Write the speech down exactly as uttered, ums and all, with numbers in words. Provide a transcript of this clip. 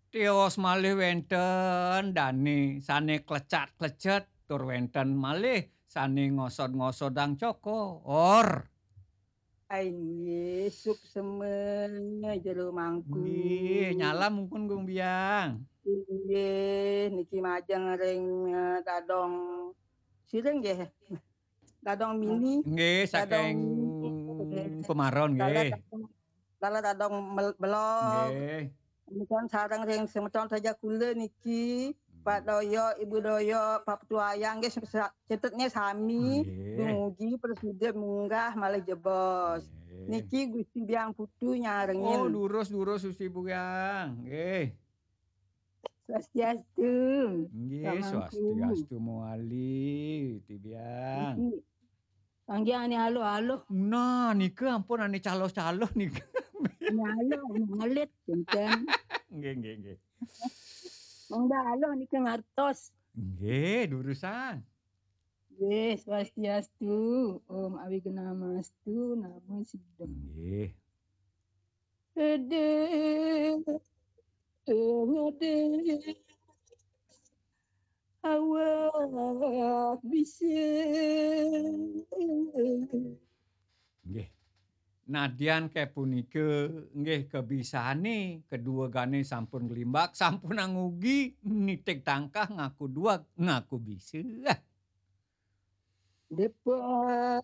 Tios malih wénten dané sané klecat-klecet, tur wénten malih sané ngosod-ngosodang cokor. Ai nggih, suksema jero mangku. Nggih, nyalam mungkun, Gung Biang. Inggih, niki majeng ring, eh, Dadong Sireng nggih. Dadong Mini. Nggih, Dadong saking Mini. Pemaron, Dalar nggih. Dadong, Dalar Dadong Mel-, Belog. Nggih. Menika sareng ring semeton saja kula niki, Pak Doyok, Ibu Doyok, Pak Petuayang nggih, sa-, cetetnya sami. Nggih. Dumugi prasida munggah malih jebos. Nggih. Niki Gusti Biang Putu nyarengin. Oh, durus, durus, Gusti Biang. Nggih. Swastiastu. Nggih, Pak Mangku. Swastiastu mawali, Gusti Biang. Niki. Kangge ane aluh-aluh. Nah, nika ampun ane caloh-caloh nika. Ane aluh, ane alit, kinten. Nggih, nggih, nggih. Mangda aluh nika ngartos. Nggih, durusang. Nggih, swastiastu. Om Awignamastu, Namo Siddham. Nggih. Ede, ede, awak bisa. Nggih. Nadyan kapunika, nggih, kebisane, kedua gane sampun glimbak, sampun angugi, nitik tangkah, ngaku duag, ngaku bisa. Depak